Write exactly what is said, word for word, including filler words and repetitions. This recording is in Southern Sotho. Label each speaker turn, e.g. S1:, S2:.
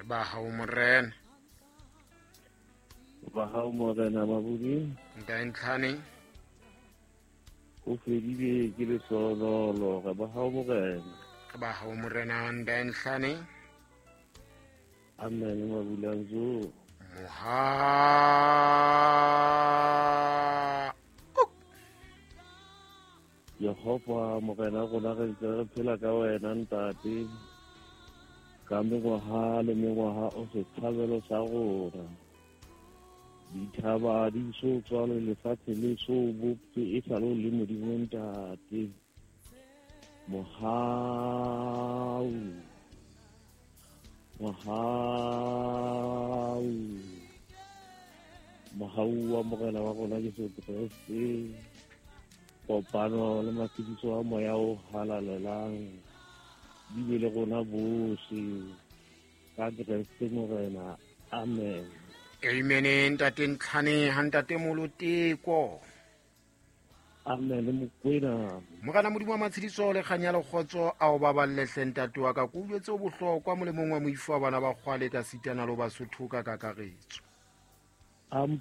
S1: Ba hao morena.
S2: Ba hao morena Mabudi.
S1: Ntate Ntlhane.
S2: O fedile ke lehlonolo, re ba hao morena.
S1: Ba hao morena Ntate Ntlhane.
S2: Amen Mabulanzo.
S1: Moha.
S2: Jehova morena rona re ntse re phela ka wena ntate. Ka mengwaha le mengwaha o setshabelo sa rona. Dithaba di so tswalwe lefatshe le so bopse e sa le le Modimo ntate. Mohau. Mohau. Mohau wa morena wa rona Jesu Kreste. Kopano le matshidiso a moya o halalelang di be le rona bohle ka Kreste morena. Amen.
S1: Amen ntate Ntlhane ha ntate Moloteko.
S2: Amen Mokwena.
S1: Morena Modimo wa matshidiso le kganya le kgotso a o baballe hle ntate wa ka ke utlwetse o bohlokwa molemong wa moifo wa bana ba kgwale ka sitana le Basotho ka kakaretso.
S2: Am